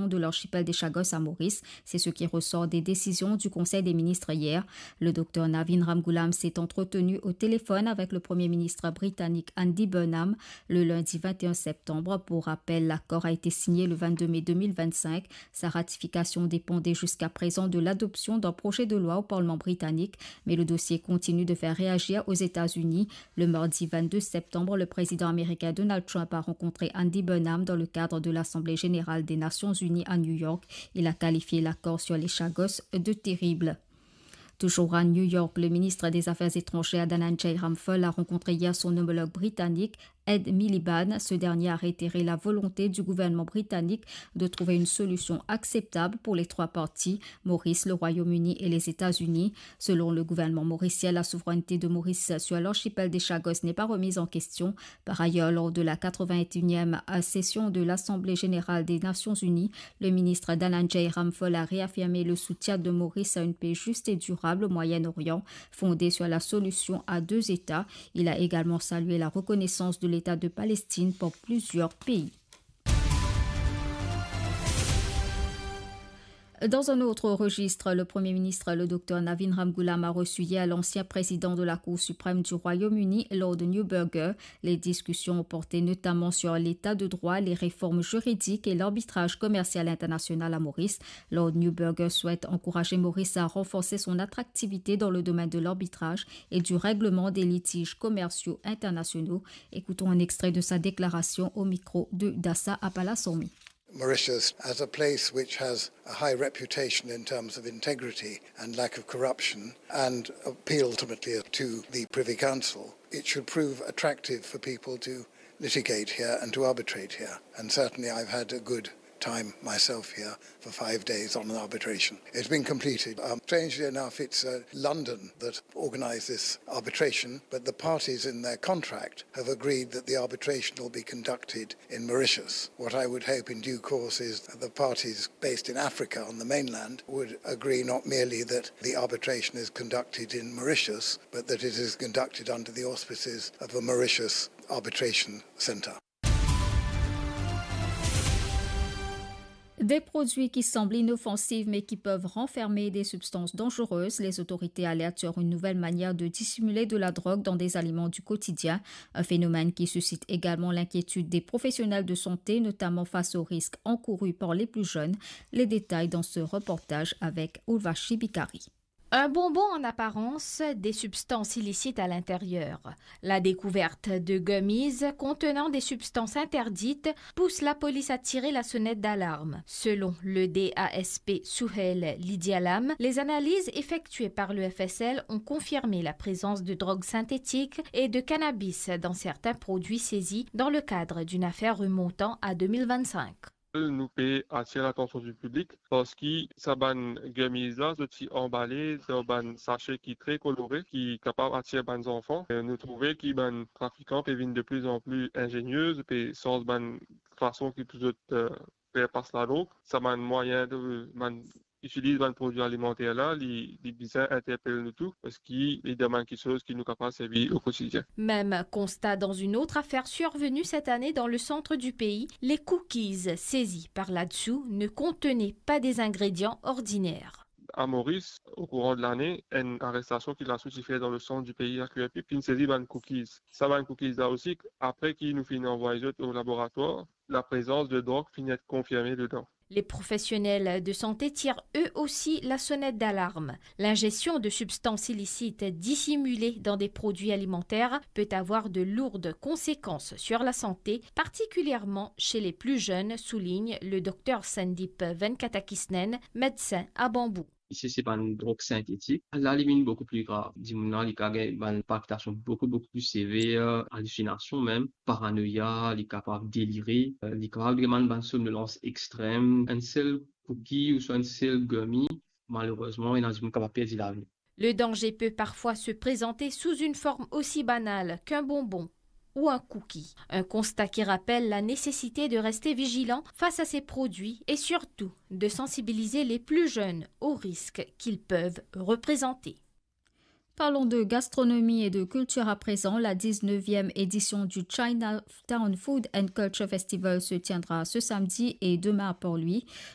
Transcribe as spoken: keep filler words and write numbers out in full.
de l'archipel des Chagos à Maurice. C'est ce qui ressort des décisions du Conseil des ministres hier. Le docteur Navin Ramgoolam s'est entretenu au téléphone avec le Premier ministre britannique Andy Burnham le lundi vingt et un septembre. Pour rappel, l'accord a été signé le vingt-deux mai deux mille vingt-cinq. Sa ratification dépendait jusqu'à présent de l'adoption d'un projet de loi au Parlement britannique, mais le dossier continue de faire réagir aux États-Unis. Le mardi vingt-deux septembre, le président américain Donald Trump a rencontré Andy Burnham dans le cadre de l'Assemblée générale des Nations unies à New York. Il a qualifié l'accord sur les Chagos de terrible. Toujours à New York, le ministre des Affaires étrangères Dhananjay Ramphal a rencontré hier son homologue britannique, Ed Miliband. Ce dernier a réitéré la volonté du gouvernement britannique de trouver une solution acceptable pour les trois parties, Maurice, le Royaume-Uni et les États-Unis. Selon le gouvernement mauricien, la souveraineté de Maurice sur l'archipel des Chagos n'est pas remise en question. Par ailleurs, lors de la quatre-vingt-et-unième session de l'Assemblée générale des Nations unies, le ministre Dhananjay Ramphal a réaffirmé le soutien de Maurice à une paix juste et durable au Moyen-Orient, fondée sur la solution à deux États. Il a également salué la reconnaissance de l'État de Palestine par plusieurs pays. Dans un autre registre, le Premier ministre, le docteur Navin Ramgoolam, a reçu hier l'ancien président de la Cour suprême du Royaume-Uni, Lord Neuberger. Les discussions ont porté notamment sur l'état de droit, les réformes juridiques et l'arbitrage commercial international à Maurice. Lord Neuberger souhaite encourager Maurice à renforcer son attractivité dans le domaine de l'arbitrage et du règlement des litiges commerciaux internationaux. Écoutons un extrait de sa déclaration au micro de Dassa Apalasormi. Mauritius as a place which has a high reputation in terms of integrity and lack of corruption, and appeal ultimately to the Privy Council, it should prove attractive for people to litigate here and to arbitrate here. And certainly I've had a good time myself here for five days on an arbitration. It's been completed. Um, strangely enough, it's uh, London that organised this arbitration, but the parties in their contract have agreed that the arbitration will be conducted in Mauritius. What I would hope in due course is that the parties based in Africa on the mainland would agree not merely that the arbitration is conducted in Mauritius, but that it is conducted under the auspices of a Mauritius arbitration centre. Des produits qui semblent inoffensifs mais qui peuvent renfermer des substances dangereuses, les autorités alertent sur une nouvelle manière de dissimuler de la drogue dans des aliments du quotidien, un phénomène qui suscite également l'inquiétude des professionnels de santé, notamment face aux risques encourus par les plus jeunes. Les détails dans ce reportage avec Urvashi Bikari. Un bonbon en apparence, des substances illicites à l'intérieur. La découverte de gummies contenant des substances interdites pousse la police à tirer la sonnette d'alarme. Selon le D A S P Souheil Lidialam, les analyses effectuées par le F S L ont confirmé la présence de drogues synthétiques et de cannabis dans certains produits saisis dans le cadre d'une affaire remontant à deux mille vingt-cinq. Nou pe atir latansion di piblik parski sa bann gummies la, zot ti anbale dan bann sase ki tre kolore, ki kapav atir bann zanfan. E nou trouve ki bann trafikan pe vinn de pli an pli inzenie, pe sanz bann fason ki pou zot, eh, fer pas ladrog. Sa bann mwayin de, bann itiliz bann prodwi alimanter la, li, li bizin interpel nou tou, parski li dan bann kiksoz ki nou kapav servi o kotidien. Même constat dans une autre affaire survenue cette année dans le centre du pays. Les cookies saisis par l'ADSOU ne contenaient pas des ingrédients ordinaires. À Maurice, au courant de l'année, enn arestasyon ki lasou ti fer dan le sant di pei a Q R P, finn sezi bann cookies. Sa bann cookies la osi, apre ki nou finn anvway zot o laboratwar, la prezans de drog finn et konfirme dedan. Les professionnels de santé tirent eux aussi la sonnette d'alarme. L'ingestion de substances illicites dissimulées dans des produits alimentaires peut avoir de lourdes conséquences sur la santé, particulièrement chez les plus jeunes, souligne le docteur Sandip Venkatakisnen, médecin à Bambou. Isi se bann drog sintetik. La li vinn boukou pli grav. Dimoun la, li kapav gagn bann palpitasion boukou, boukou pli sever, alisiinasion mem, paranoya, li kapav delire, eh, li kapav gagn bann somnolans extrem. Enn sel cookie ouswa enn sel gummy, malerezman, ena dimoun kapav perdi lavi. Le danger peut parfois se présenter sous une forme aussi banale qu'un bonbon ou un cookie. Un constat qui rappelle la nécessité de rester vigilant face à ces produits et surtout de sensibiliser les plus jeunes aux risques qu'ils peuvent représenter. Parlons de gastronomie et de culture à présent. La dix-neuvième édition du Chinatown Food and Culture Festival se tiendra ce samedi et demain à Port-Louis.